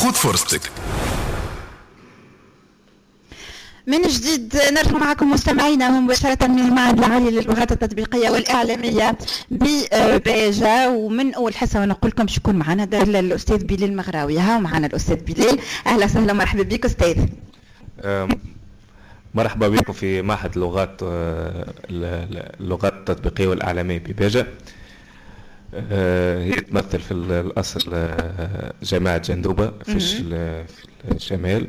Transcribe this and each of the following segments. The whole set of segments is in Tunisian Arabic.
خذ فرصتك. من جديد نرجع معكم مستمعينا مباشرة من المعهد العالي للغات التطبيقية والإعلامية بباجة. ومن أول حصة ونقول لكم شكون معنا، الأستاذ بلال المغراوي. ها معنا الأستاذ بلال، أهلا وسهلا، مرحبا بك أستاذ. مرحبا بكم في معهد اللغات التطبيقية والإعلامية بباجة. هي تمثل في الأصل جامعة جندوبة في الشمال،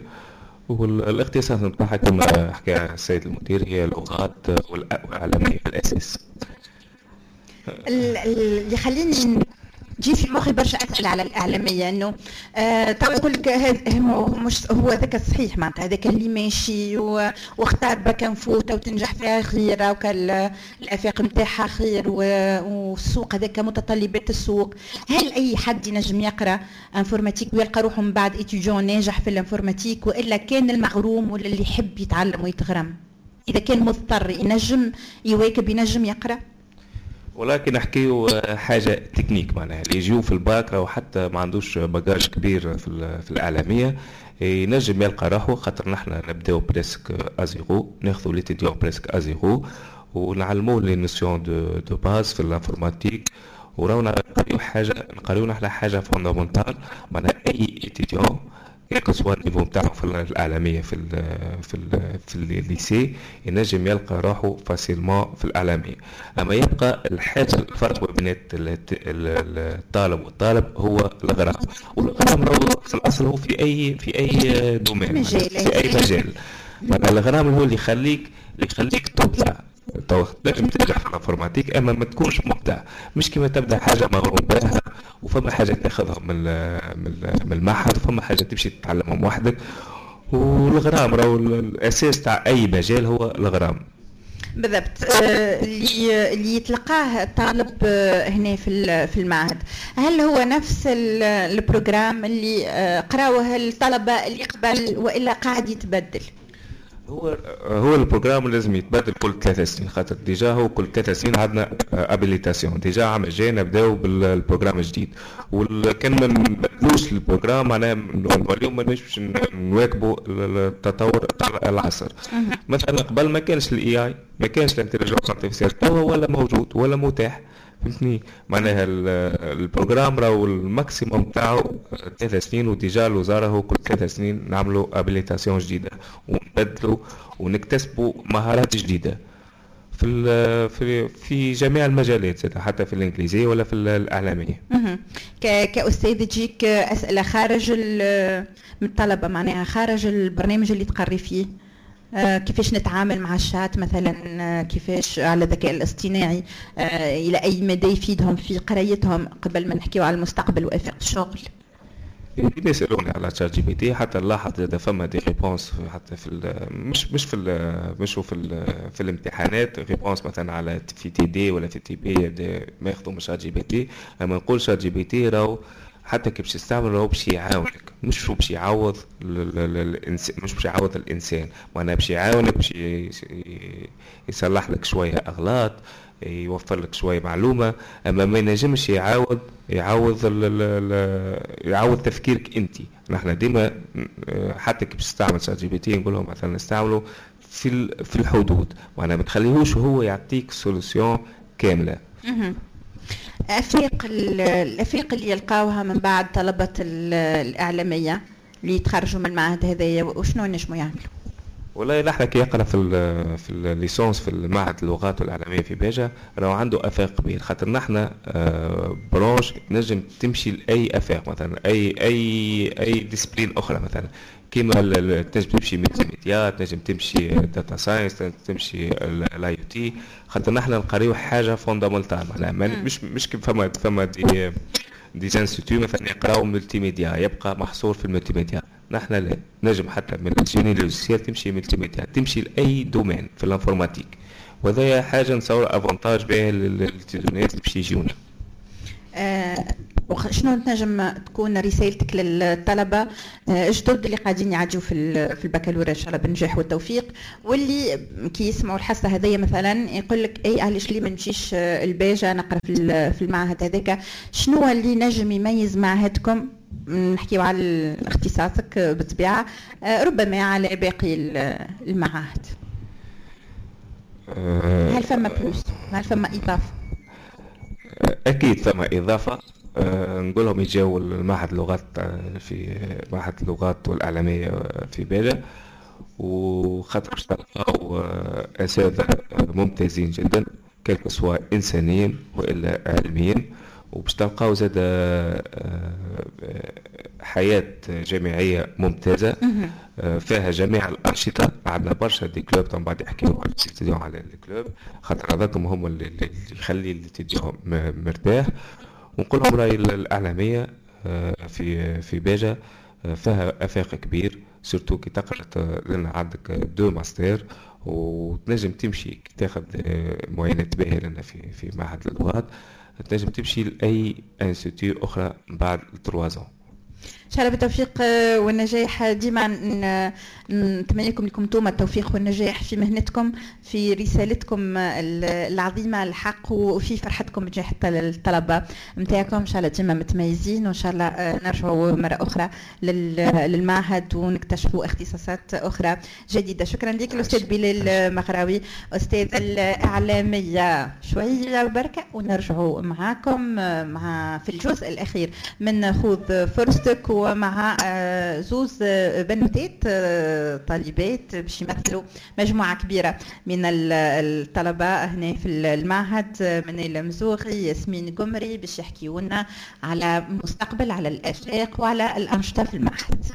والاختصاص نتاعها كما حكى السيد المدير هي اللغات والإعلامية في الأساس. اللي يخليني تجي في مخي برشا اسئلة على الاعلامية، انه تو يقول لك مش هو هذاك الصحيح، معناتها هذاك اللي ماشي واختار bac info وتنجح فيها خير، وكان الافاق نتاعها خير، والسوق هذاك متطلبات السوق. هل اي حد ينجم يقرا informatique ويلقى روحه من بعد étudiant ناجح في ال informatique، والا كان المغروم ولا اللي يحب يتعلم ويتغرم اذا كان مضطر ينجم يواكب ينجم يقرا؟ ولكن نحكيو حاجة تكنيك، معناها اللي يجيو في الباك راهو حتى ما عندوش bagage كبير في الاعلامية ينجم يلقى روحه، خاطر نحن نبداو presque à zéro، ناخذوا l'étudiant presque à zéro ونعلموه les notions de base في ال informatique، وراو نقريو حاجة، نقريو نحن حاجة fondamentale، معناها اي étudiant quel que soit ال niveau نتاعو في الاعلامية في ال lycée ينجم يلقى روحه facilement في الاعلامية. اما يبقى الحاجة الفرق بين الطالب والطالب هو الغرام، والغرام في الاصل هو في اي domaine، في اي مجال. الغرام هو اللي يخليك تبدع. تو تنجم تنجح في ال informatique اما ما تكونش مبدع، مش كيما تبدا حاجة مغروم بها، وفما حاجة تاخذها من المعهد، وفما حاجة تمشي تتعلمهم وحدك. والغرام راهو الاساس تاع اي مجال هو الغرام. بالضبط. اللي يتلقاه الطالب هنا في المعهد، هل هو نفس ال programme اللي قراوه الطلبة اللي قبل والا قاعد يتبدل؟ هو هو ال programme لازم يتبدل كل 3 سنين، خاطر déjà هو كل 3 سنين عندنا habilitation. déjà عام الجاي نبداو بال programme الجديد، وكان ما نبدلوش ال programme معناها نوليو ماناش باش نواكبوا التطور تاع العصر. مثلا قبل ما كانش ال AI، ما كانش ال intelligence artificielle، توا ولا موجود ولا متاح، فهمتني؟ معناها ال programme راهو ال maximum تاعو 3 سنين، و déjà الوزارة هو كل 3 سنين نعملوا habilitation جديدة ونبدلوا ونكتسبوا مهارات جديدة في في جميع المجالات، حتى في الانجليزية ولا في الاعلاميه. كاستاذ تجيك اسئلة خارج من الطلبه، معناها خارج البرنامج اللي تقري فيه، كيفاش نتعامل مع الشات مثلا، كيفاش على الذكاء الاصطناعي، الى اي مدى يفيدهم في قرايتهم، قبل ما نحكيو على المستقبل وافاق الشغل؟ ديما يسالوني على ChatGPT. حتى نلاحظ زاد فما des réponses حتى في ال مش مش في ال مش في ال في الامتحانات، réponse مثلا على في TD ولا في TP ما ياخذوا من ChatGPT. اما نقول ChatGPT راهو حتى كي باش تستعمل راهو باش يعاونك، مش باش يعوض الانسان، مش باش يعوض الانسان، معناها باش يعاونك، باش يصلح لك شوية اغلاط، يوفر لك شوية معلومه، اما ما ينجمش يعوض ال ال يعوض تفكيرك انت. نحن ديما حتى كي باش تستعمل ChatGPT نقول لهم مثلا نستعمله في الحدود، معناها ما تخليهوش هو يعطيك solution كامله. الافاق اللي يلقاوها من بعد طلبه الاعلامية اللي يتخرجوا من المعهد هذايا، وشنو نجموا يعملوا؟ والله نحن كي يقرا في ال licence في المعهد اللغات والاعلامية في باجة راهو عنده افاق كبير، خاطر نحن branche تنجم تمشي لاي افاق، مثلا اي discipline اخرى، مثلا كيما تنجم تمشي multimédia، تنجم تمشي data science، تنجم تمشي ال IoT، خاطر نحن نقريو حاجة fondamentale. معناها مش كيف فما des instituts مثلا يقراو multimédia يبقى محصور في ال multimédia. نحن لا، نجم حتى من ال génie logiciel تمشي multimédia، تمشي لاي domaine في ال informatique، وهذا حاجة نصور avantage به لل étudiants اللي باش يجيونا. شنو تنجم تكون رسالتك للطلبة الجدد اللي قاعدين يعدوا في البكالوريا ان شاء الله بالنجاح والتوفيق، واللي كي يسمعوا الحصة هذيا مثلا يقول لك اي علاش لي ما نمشيش الباجه نقرا في المعهد هذاك؟ شنو اللي نجم يميز معهدكم؟ نحكيو على اختصاصك بالطبيعة، ربما على باقي المعاهد؟ هل فما plus؟ هل فما اضافه؟ اكيد فما اضافه. نقول لهم يجاو المعهد اللغات، في معهد اللغات والاعلامية في باجة، وخاطر باش تلقاو اساتذة ممتازين جدا، quel que soit انسانيا والا علميا، وباش تلقاو زاد حياة جامعية ممتازة فيها جميع الأنشطة. عندنا برشا des clubs، من بعد يحكيو على les clubs، خاطر هذاكم هم اللي يخلي l'étudiant مرتاح. ونقول لهم راي الإعلامية في باجة فيها آفاق كبير، surtout كي تقرا لنا عندك deux masters وتنجم تمشي تاخذ moyennes باهية لنا في معهد اللغات، تنجم تمشي لاي institut اخرى بعد 3 ans. ان شاء الله بالتوفيق والنجاح. ديما نتمنى لكم انتم التوفيق والنجاح في مهنتكم، في رسالتكم العظيمة الحق، وفي فرحتكم بنجاح الطلبة نتاعكم. ان شاء الله ديما متميزين، وان شاء الله نرجعوا مرة اخرى للمعهد ونكتشفوا اختصاصات اخرى جديده. شكرا لك الاستاذ بلال مغراوي، استاذ الاعلاميه. شوية بركة ونرجعوا معاكم مع في الجزء الاخير من خذ فرصتك، ومع زوز بنوتات طالبات باش يمثلوا مجموعة كبيرة من الطلبة هنا في المعهد، منال المزوغي، ياسمين قمري، باش يحكيوا لنا على مستقبل، على الآفاق وعلى الأنشطة في المعهد.